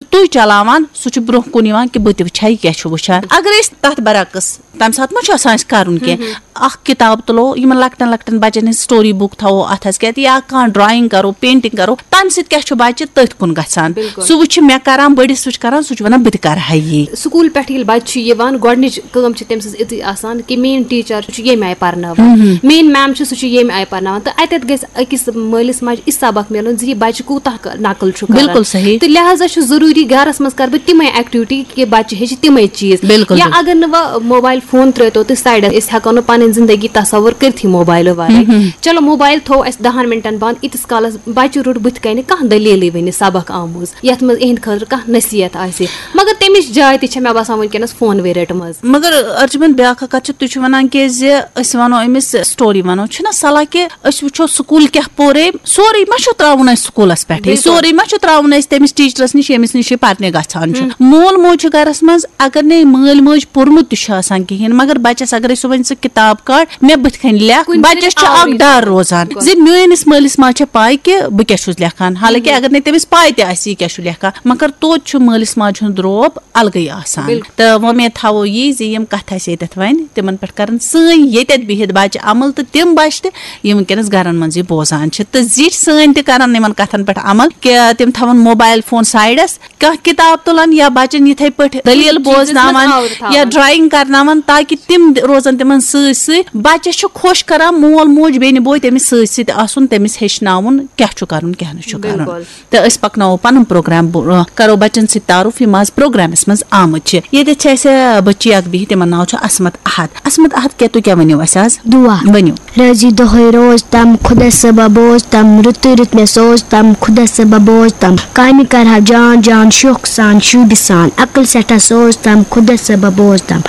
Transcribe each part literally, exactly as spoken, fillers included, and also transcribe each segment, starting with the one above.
تُہۍ چلاوان، سُہ چھُ برونٛہہ کُن یِوان کہِ بہٕ تہِ وٕچھِ ہا یہِ کیٛاہ چھُ وٕچھان۔ اگر أسۍ تَتھ برعکس تَمہِ ساتہٕ ما چھُ آسان اَسہِ کَرُن کینٛہہ؟ اَکھ کِتاب تُلو، یِمَن لۄکٹٮ۪ن لۄکٹٮ۪ن بَچَن ہٕنٛز story book تھاوو اَتھَس کٮ۪تھ، یا کانٛہہ drawing کَرو، painting کَرو، تَمہِ سۭتۍ کیٛاہ چھُ بَچہِ تٔتھۍ کُن گژھان؟ بِلکُل۔ سُہ وٕچھِ مےٚ کَران، بٔڑِس وٕچھِ کَران، سُہ چھُ وَنان، "بہٕ تہِ کَرٕ ہا یی۔" سکوٗل پٮ۪ٹھ ییٚلہِ بَچہِ چھُ یِوان، گۄڈٕنِچ کٲم چھِ تٔمۍ سٕنٛز یِژٕے آسان کہِ میٛٲنۍ teacher چھُ ییٚمہِ آیہِ پَرناوان، میٛٲنۍ ma'am چھِ، سُہ چھُ ییٚمہِ آیہِ پَرناوان۔ تہٕ اَتٮ۪تھ گژھِ أکِس مٲلِس ماجہِ یہِ سبق میلُن زِ یہِ بَچہِ کوٗتاہ ک-، نقل چھُ کَران۔ بِلکُل صحیح۔ تہٕ لہذا چھُ ضروٗری گَرَس منٛز کَرٕ بہٕ تِمَے activity کہِ بَچہِ ہیٚچھِ تِمَے چیٖز۔ بِلکُل، یا بِلکُل۔ اگر نہٕ وۄنۍ mobile phone ترٛٲوتو تُہۍ sideس، أسۍ ہٮ۪کو نہٕ پَنٕنۍ زِندگی تصوُر کٔرتھٕے mobile ورٲے۔ چلو، mobile تھوو اَسہِ دَہَن مِنٹَن بنٛد، ییٖتِس کالَس بَچہِ روٚٹ بٕتھِ کَنہِ کانٛہہ دٔلیٖلٕے ؤنِتھ سبق آمُز، یَتھ منٛز یِہِنٛدِ خٲطرٕ کانٛہہ نصیحت آسہِ۔ مگر تَمِچ جاے تہِ چھےٚ، مےٚ باسان، وٕنکیٚنَس phone وے رٔٹمٕژ۔ مگر ارجمند، بیٛاکھ اکھ کتھ چھِ، تُہۍ چھِو ونان کہِ زِ أسۍ ونو أمِس story ونو، چھُنہ صلاح کہِ أسۍ وٕچھو سکوٗل کیٛاہ پوٚر أمۍ، سورُے ما چھُ ترٛاوُن اَسہِ سکوٗلس پٮ۪ٹھٕے؟ بِلکُل۔ سورُے ما چھُ ترٛاوُن اَسہِ تٔمِس teacherس نِش، ییٚمِس نِش یہِ پرنہِ گژھان چھُ؟ مول موج چھُ گرس منٛز، اگر نہٕ مٲلۍ مٲج پوٚرمُت تہِ چھُ آسان کِہیٖنۍ، مگر بچس اگر أسۍ صُبحن سُہ کِتاب کڑ، مےٚ بٕتھِ کنہِ لیکھ، کُنہِ بچس چھُ آورٕے اکھ ڈر روزان۔ روزان زِ میٲنِس مٲلِس ماجہِ چھےٚ پاے کہِ بہٕ کیٛاہ چھُس لیکھان، حالانکہِ اگر نہٕ تٔمِس پاے تہِ آسہِ یہِ کیٛاہ چھُ لیکھان، مگر توتہِ چھُ مٲلِس ماجہِ ہُنٛد روب الگٕے آسان۔ بِلکُل۔ تہٕ وۄمید تھاوو یی زِ یِم کَتھٕ اَسہِ ییٚتٮ۪تھ وَنہِ، تِمَن پٮ۪ٹھ کَرَن سٲنۍ ییٚتٮ۪تھ بِہِتھ بَچہِ عمل، تہٕ تِم بَچہِ تہِ یِم وٕنکیٚنَس گَرَن منٛز یہِ بوزان چھِ، تہٕ زِٹھۍ سٲنۍ تہِ کَرَن یِمَن کَتھَن پٮ۪ٹھ عمل، کہِ تِم تھاوَن mobile phone sideس، کانٛہہ کِتاب تُلَن یا بَچَن یِتھَے پٲٹھۍ دٔلیٖل کُنہِ چیٖزَس منٛز بوزناوَن آوُر تھاوَن۔ یا drawing کَرناوَن، تاکہِ تِم روزَن تِمَن سۭتۍ سۭتۍ۔ بَچَس چھُ خۄش کَران مول موج بیٚنہِ بوے تٔمِس سۭتۍ سۭتۍ آسُن، تٔمِس ہیٚچھناوُن کیٛاہ چھُ کَرُن، کیٛاہ نہٕ چھُ کَرُن۔ بِلکُل۔ تہٕ أسۍ پَکناوو پَنُن پروگرام برونٛہہ، کَرو بَچَن سۭتۍ تعارُف، یِم آز پروگرامَس منٛز آمٕتۍ چھِ۔ ییٚتٮ۪تھ چھِ اَسہِ بٔچی اَکھ بِہِتھ، تِمَن ناو چھُ عصمت احد۔ عصمت احد، کیٛاہ تُہۍ کیٛاہ ؤنِو اَسہِ آز؟ دُعا۔ ؤنِو۔ رٲضی دۄہَے روز تَم، خۄدا صٲبہ بوز تَم، رٕتٕے رٕتۍ مےٚ سوز تَم، خۄدا صٲبہ بوز تَم۔ کامہِ کَرٕ ہا جان جان، شوقہٕ سان، شوٗبہِ سان، عقل سٮ۪ٹھاہ سوز تَم، خۄدا صٲبہ بوز تَم۔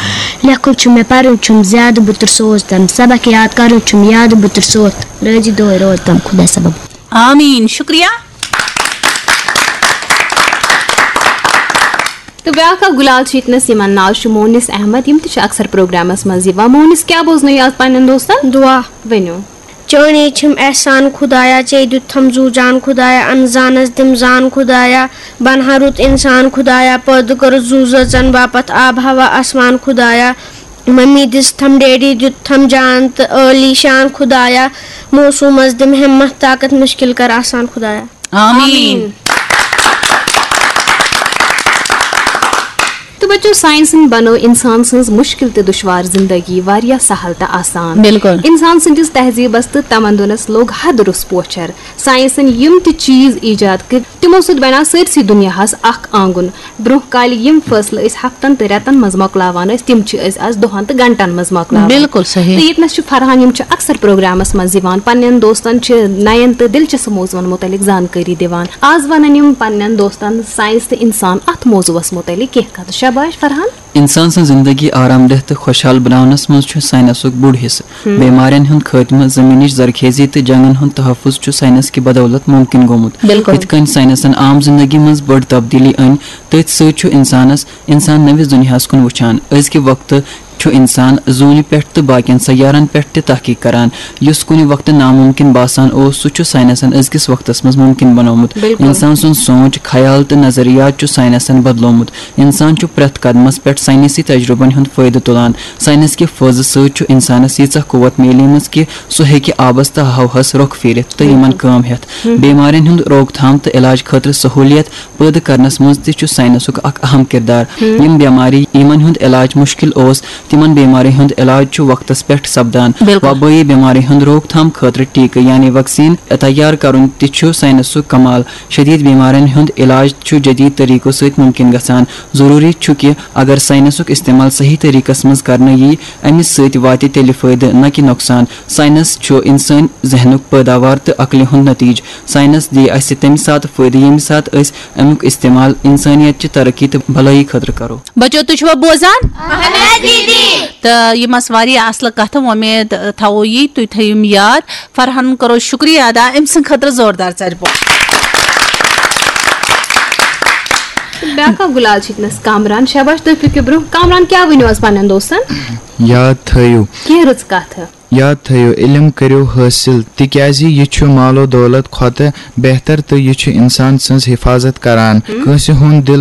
لیکھُن چھُم مےٚ، پَرُن چھُم زیادٕ، بہٕ تُر سوز تَم، سبق یاد کَرُن چھُم یاد، بہٕ تُر سوز تَم۔ رٲضی دۄہَے روز تَم، خۄدا صٲبہ بوز۔ آمیٖن۔ شُکریہ۔ تہٕ بیٛاکھ اکھ گُلال چھِ ییٚتنَس، یِمن ناو چھُ مونس احمد، یِم تہِ چھِ اکثر پروگرامس منٛز یِوان۔ مونس، کیٛاہ بوزنٲیِو آز پننٮ۪ن دوستن؟ دُعا۔ ؤنِو۔ چٲنی چھِم احسان خدایا، ژےٚ دیُتتھم زُو جان خدایا، انزانس دِم زان خدایا، بنہٕ ہا رُت انسان خدایا، پٲدٕ کٔرٕتھ زُو زٲژن باپتھ آب ہوا آسمان خدایا، ممی دِژتھم ڈیڈی دیُتتھم جان تہٕ عٲلی شان خدایا، موسومس دِم ہمت طاقت، مشکل کر آسان خدایا۔ آمین۔ تہٕ بچو، ساینسن بنٲو انسان سٕنٛز مشکل تہٕ دشوار زندگی واریاہ سہل تہٕ آسان۔ بِلکُل۔ انسان سٕنٛدِس تہذیبس تہٕ تمدنس لوٚگ حد روٚس پوچھر۔ ساینسن یِم تہِ چیٖز ایجاد کٔرۍ، تِمو سۭتۍ بنیو سٲرسٕے دُنیاہس اکھ آنگُن۔ برونٛہہ کالہِ یِم فٲصلہٕ أسۍ ہفتن تہٕ رٮ۪تن منٛز مۄکلاوان ٲسۍ، تِم چھِ أسۍ از دۄہن تہٕ گھنٹن منٛز مۄکلاوان۔ بِلکُل صحیح۔ تہٕ ییٚتنس چھُ فرحان، یِم چھِ اکثر پروگرامس منٛز یِوان، پننٮ۪ن دوستن چھِ نین تہٕ دلچسپ موضوعن متعلق زانکٲری دِوان۔ آز ونن یِم پننٮ۪ن دوستن ساینس تہٕ انسان اتھ موضوعس متعلق کینٛہہ کتھٕ۔ شاباش فرحان۔ انسان سٕنٛز زندگی آرام دہ تہٕ خۄشحال بناونس منٛز چھُ ساینسُک بوٚڑ حصہٕ۔ بیمارٮ۪ن ہُنٛد خٲتمہٕ، زمینٕچ زرخیزی تہٕ جنگن ہُنٛد تحفظ چھُ ساینس کہِ بدولت ممکن گوٚمُت۔ بِلکُل۔ یِتھ کٔنۍ ساینسن عام زندگی منٛز بٔڑ تبدیلی أنۍ، تٔتھۍ سۭتۍ چھُ انسانس، انسان نٔوِس دُنیاہس کُن وٕچھان۔ أزکہِ وقتہٕ چھُ انسان زوٗنہِ پٮ۪ٹھ تہٕ باقین سیارن پٮ۪ٹھ تہِ تحقیق کران۔ یُس کُنہِ وقتہٕ ناممکن باسان اوس، سُہ چھُ ساینسن أزکِس وقتس منٛز ممکن بنوومُت۔ بِلکُل۔ انسان سُنٛد سونچ، خیال تہٕ نظریات چھُ ساینسن بدلوومُت۔ انسان چھُ پرٛٮ۪تھ قدمس پٮ۪ٹھ ساینسی تجربن ہُنٛد فٲیدٕ تُلان۔ ساینس کہِ فٲضہٕ سۭتۍ چھُ انسانس ییٖژاہ قوت میلیمٕژ کہِ سُہ ہیٚکہِ آبس تہٕ ہوہس رۄخ پھیرِتھ تہٕ یِمن کٲم ہٮ۪تھ۔ بیمارٮ۪ن ہُنٛد روک تھام تہٕ علاج خٲطرٕ سہوٗلیت پٲدٕ کرنس منٛز تہِ چھُ ساینسُک اکھ اہم کردار۔ یِم بیمارِ، یِمن ہُنٛد علاج مُشکِل اوس، تِمن بیمارِ ہُنٛد علاج چھُ وقتس پٮ۪ٹھ سپدان۔ بِلکُل۔ وبٲیی بیمارِ ہُنٛد روک تھام خٲطرٕ ٹیکہٕ یعنی ویکسیٖن تیار کرُن تہِ چھُ ساینسُک کمال۔ شدید بیمارٮ۪ن ہُنٛد علاج چھُ جدید طریقو سۭتۍ ممکن گژھان۔ ضروٗری چھُ کہِ اگر ساینسُک استعمال صحیح طریقس منٛز کرنہٕ ییہِ، امہِ سۭتۍ واتہِ تیٚلہِ فٲیدٕ نہ کہِ نۄقصان۔ ساینس چھُ انسٲنۍ ذہنُک پٲداوار تہٕ عقلہِ ہُنٛد نتیجہٕ۔ ساینس دِیہِ اسہِ تمہِ ساتہٕ فٲیدٕ، ییٚمہِ ساتہٕ أسۍ امیُک استعمال انسٲنیت چہِ ترقی تہٕ بھلٲیی خٲطرٕ کرو۔ بچو، تُہۍ چھِوا بوزان؟ اہن حظ دیدی۔ تہٕ یِم آسہٕ واریاہ اصلہٕ کتھٕ، وۄمید تھاوو یی تُہۍ تھٲیِو یِم یاد۔ فرحانن کرو شُکریہ ادا، أمۍ سٕنٛدِ خٲطرٕ زوردار ژَرِ پوٚپ۔ بیٛاکھ اکھ گُلال چھِ ییٚتنَس کامران۔ شاباش، تُہۍ پٔکِو برٛونٛہہ۔ کامران، کیٛاہ ؤنِو آز پننٮ۪ن دوستن؟ یاد تھٲیِو۔ کینٛہہ رٕژ کتھٕ۔ یاد تھٲیِو، علم کٔرِو حٲصِل، تِکیٛازِ یہِ چھُ مال و دولت کھۄتہٕ بہتر تہٕ یہِ چھُ انسان سٕنٛز حفاظت کران۔ کٲنٛسہِ ہُنٛد دِل